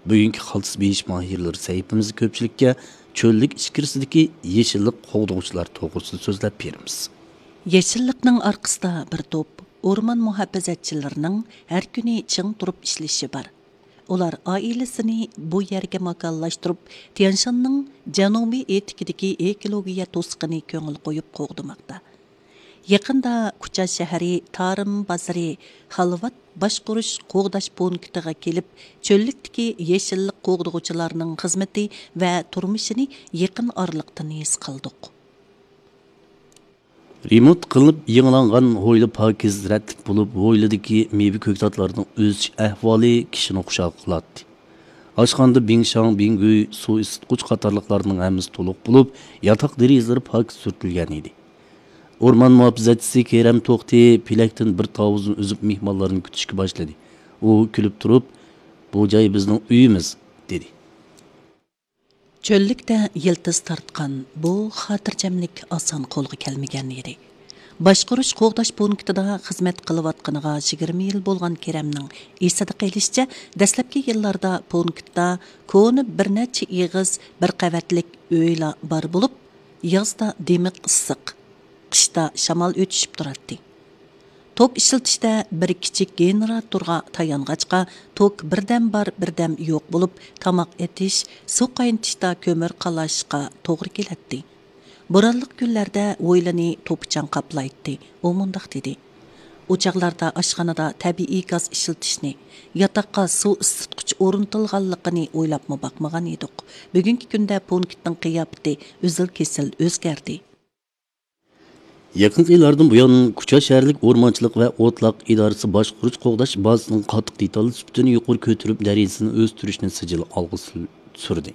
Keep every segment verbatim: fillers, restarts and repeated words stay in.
بۈگۈنكى خالتىس بېيىش ماھىرلىرى سەھىپىمىزدە كۆپچىلىككە چۆللۈك ئىچكىرىسىدىكى يېشىللىق قوغدىغۇچىلار توغرىسىدا سۆزلەپ بېرىمىز. يېشىللىقنىڭ ئارقىسىدا بىر توپ ئورمان مۇھاپىزەتچىلىرىنىڭ ھەر كۈنى چىڭ تۇرۇپ ئىشلىشى بار. ئۇلار ئائىلىسىنى بۇ يەرگە ماكانلاشتۇرۇپ، تيەنشاننىڭ جەنۇبىي ئېتىكىدىكى ئېكولوگىيە توسۇقىنى كۆڭۈل قويۇپ قوغدىماقتا. يېقىندا كۇچا شەھىرى تارىم بازىرى خالۋات باشقۇرۇش قوغداش پونكىتىغا كېلىپ، چۆللۈكتىكى يېشىللىق قوغدىغۇچىلارنىڭ خىزمىتى ۋە تۇرمۇشىنى يېقىن ئارىلىقتىن ھېس قىلدۇق. رېمونت قىلىنىپ يېڭىلانغان ھويلا پاكىز، رەتلىك بولۇپ، ھويلىدىكى مېۋە كۆكتاتلارنىڭ ئۆسۈش ئەھۋالى كىشىنى خۇشال قىلاتتى. ئاشخانىدا بىڭشاڭ، بىڭگۈي، سۇ ئىسسىتقۇچ قاتارلىقلارنىڭ ھەممىسى تولۇق بولۇپ، ياتاق دېرىزىلىرى پاكىز سۈرتۈلگەن ئىدى. ئورمان مۇھاپىزەتچىسى كېرەم توختى پېلەكتىن بىر تاۋۇزنى ئۈزۈپ، مېھمانلارنى كۈتۈشكە باشلىدى. ئۇ كۈلۈپ تۇرۇپ، «بۇ جاي بىزنىڭ ئۆيىمىز» دېدى. چۆللۈكتە يىلتىز تارتقان بۇ خاتىرجەملىك ئاسان قولغا كەلمىگەن ئىدى. باشقۇرۇش قوغداش پونكىتىدا خىزمەت قىلىۋاتقىنىغا يىگىرمە يىل بولغان كېرەمنىڭ ئېسىدە قېلىشىچە، دەسلەپكى يىللاردا پونكىتتا كونا بىر نەچچە ئېغىز بىر قەۋەتلىك ئۆيلا بار بولۇپ، يازدا دىمىق ئىسسىق، قىشتا شامال ئۆتۈشۈپ تۇراتتى. توك ئىشلىتىشتە بىر كىچىك گېنېراتورغا تايانغاچقا، توك بىردەم بار، بىردەم يوق بولۇپ، تاماق ئېتىش، سۇ قاينىتىشتا كۆمۈر قالاشقا توغرا كېلەتتى. بورانلىق كۈنلەردە ھويلىنى توپا-چاڭ قاپلايتتى. ئۇ مۇنداق دېدى: «ئۇ چاغلاردا ئاشخانىدا تەبىئىي گاز ئىشلىتىشنى، ياتاققا سۇ ئىسسىتقۇچ ئورنىتىلغانلىقىنى ئويلاپمۇ باقمىغان ئىدۇق. بۈگۈنكى كۈندە پونكىتنىڭ قىياپىتى ئۈزۈل-كېسىل ئۆزگەردى.» يېقىنقى يىللاردىن بۇيان، كۇچا شەھەرلىك ئورمانچىلىق ۋە ئوتلاق ئىدارىسى باشقۇرۇش قوغداش بازىسىنىڭ قاتتىق دېتال سۈپىتىنى يۇقىرى كۆتۈرۈپ، دەرىجىسىنى ئۆستۈرۈشنى سىجىل ئالغا سۈ-، سۈردى.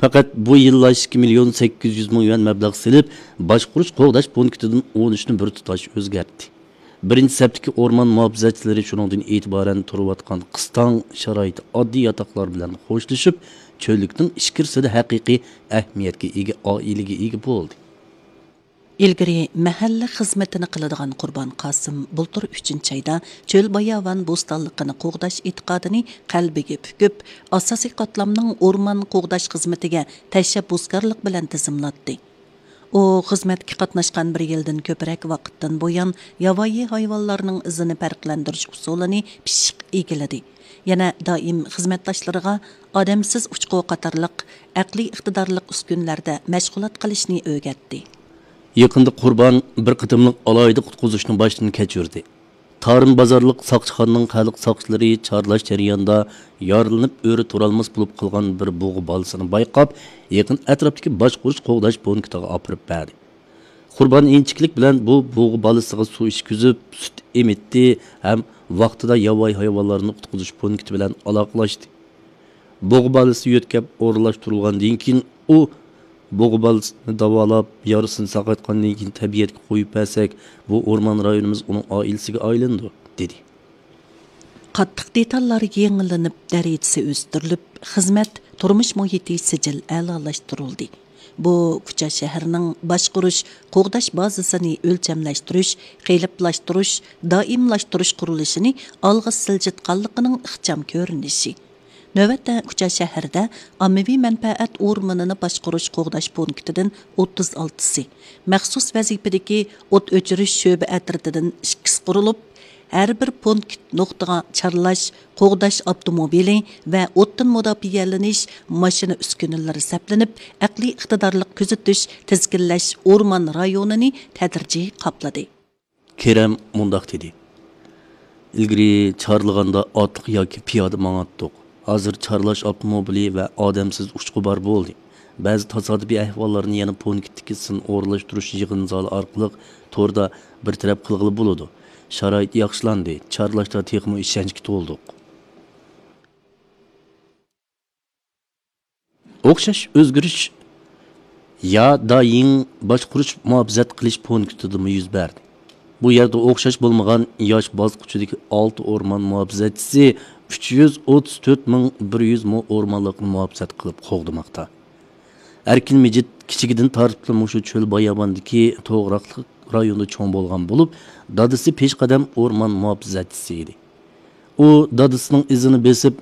پەقەت بۇ يىللا ئىككى مىليون سەككىز يۈز مىڭ يۈەن مەبلەغ سېلىپ، باشقۇرۇش قوغداش پونكىتىدىن ئون ئۈچنى بىر تۇتاش ئۆزگەرتتى. بىرىنچى سەپتىكى ئورمان مۇھاپىزەتچىلىرى شۇنىڭدىن ئېتىبارەن تۇرۇۋاتقان قىستاڭ شارائىتى ئاددىي ياتاقلار بىلەن خوشلىشىپ، چۆللۈكنىڭ ئىچكىرىسىدە ھەقىقىي ئەھمىيەتكە ئىگە ئائىلىگە ئىگە بولدى. ئىلگىرى مەھەللە خىزمىتىنى قىلىدىغان قۇربان قاسىم بۇلتۇر ئۈچىنچى ئايدا چۆل باياۋان بوستانلىقىنى قوغداش ئېتىقادىنى قەلبىگە پۈكۈپ، ئاساسىي قاتلامنىڭ ئورمان قوغداش خىزمىتىگە تەشەببۇسكارلىق بىلەن تىزىملاتتى. ئۇ خىزمەتكە قاتناشقان بىر يىلدىن كۆپرەك ۋاقىتتىن بۇيان ياۋايى ھايۋانلارنىڭ ئىزىنى پەرقلەندۈرۈش ئۇسۇلىنى پىششىق ئىگىلىدى. يەنە دائىم خىزمەتداشلىرىغا ئادەمسىز ئۇچقۇ قاتارلىق ئەقلىي ئىقتىدارلىق ئۈسكۈنىلەردە مەشغۇلات قىلىشنى ئۆگەتتى. يېقىندا قۇربان بىر قېتىملىق ئالاھىدە قۇتقۇزۇشنى باشتىن كەچۈردى. تارىم بازارلىق ساقچىخانىنىڭ خەلق ساقچىلىرى چارلاش جەريانىدا يارىلىنىپ ئۆرە تۇرالماس بولۇپ قالغان بىر بۇغا بالىسىنى بايقاپ، يېقىن ئەتراپتىكى باشقۇرۇش قوغداش پونكىتىغا ئاپىرىپ بەردى. قۇربان ئىنچىكىلىك بىلەن بۇ بۇغا بالىسىغا سۇ ئىچكۈزۈپ، سۈت ئېمىتتى ھەم ۋاقتىدا ياۋايى ھايۋانلارنى قۇتقۇزۇش پونكىتى بىلەن ئالاقىلەشتى. بۇغا بالىسى يۆتكەپ ئورۇنلاشتۇرۇلغاندىن كېيىن، ئۇ، «بۇغا بالىسىنى داۋالاپ، يارىسىنى ساقايتقاندىن كېيىن تەبىئەتكە قويۇپ بەرسەك، بۇ ئورمان رايونىمىز ئۇنىڭ ئائىلىسىگە ئايلىنىدۇ» دېدى. قاتتىق دېتاللار يېڭىلىنىپ، دەرىجىسى ئۆستۈرۈلۈپ، خىزمەت، تۇرمۇش مۇھىتى سىجىل ئەلالاشتۇرۇلدى. بۇ كۇچا شەھىرىنىڭ باشقۇرۇش، قوغداش بازىسىنى ئۆلچەملەشتۈرۈش، قېلىپلاشتۇرۇش، دائىملاشتۇرۇش قۇرۇلۇشىنى ئالغا سىلجىتقانلىقىنىڭ ئىخچام كۆرۈنۈشى. نۆۋەتتە كۇچا شەھىرىدە ئاممىۋى مەنپەئەت ئورمىنىنى باشقۇرۇش قوغداش پونكىتىدىن ئوتتۇز ئالتىسى، مەخسۇس ۋەزىپىدىكى ئوت ئۆچۈرۈش شۆبە ئەترىتىدىن ئىككىسى قۇرۇلۇپ، ھەر بىر پونكىت نۇقتىغا چارلاش، قوغداش ئاپتوموبىلى ۋە ئوتتىن مۇداپىئەلىنىش ماشىنا ئۈسكۈنىلىرى سەپلىنىپ، ئەقلىي ئىقتىدارلىق كۆزىتىش، تىزگىنلەش ئورمان رايونىنى تەدرىجىي قاپلىدى. كېرەم مۇنداق دېدى: «ئىلگىرى چارلىغاندا ئاتلىق ياكى پىيادە ماڭاتتۇق. ھازىر چارلاش ئاپتوموبىلى ۋە ئادەمسىز ئۇچقۇ بار بولدى. بەزى تاسادىپىي ئەھۋاللارنى يەنە پونكىتتىكى سىن ئورۇنلاشتۇرۇش يىغىن زالى ئارقىلىق توردا بىر تەرەپ قىلغىلى بولىدۇ. شارائىت ياخشىلاندى، چارلاشتا تېخىمۇ ئىشەنچكە تولدۇق.» ئوخشاش ئۆزگىرىش يا دايىڭ باشقۇرۇش مۇھاپىزەت قىلىش پونكىتىدىمۇ يۈز بەردى. بۇ يەردە ئوخشاش بولمىغان ياش باسقۇچىدىكى ئالتە ئورمان مۇھاپىزەتچىسى ئۈچ يۈز ئوتتۇز تۆت مىڭ بىر يۈز مو ئورمانلىقنى مۇھاپىزەت قىلىپ قوغدىماقتا. ئەركىن مىجىت كىچىكىدىن تارتىپلا مۇشۇ چۆل باياۋاندىكى توغراقلىق رايوندا چوڭ بولغان بولۇپ، دادىسى پېشقەدەم ئورمان مۇھاپىزەتچىسى ئىدى. ئۇ دادىسىنىڭ ئىزىنى بېسىپ،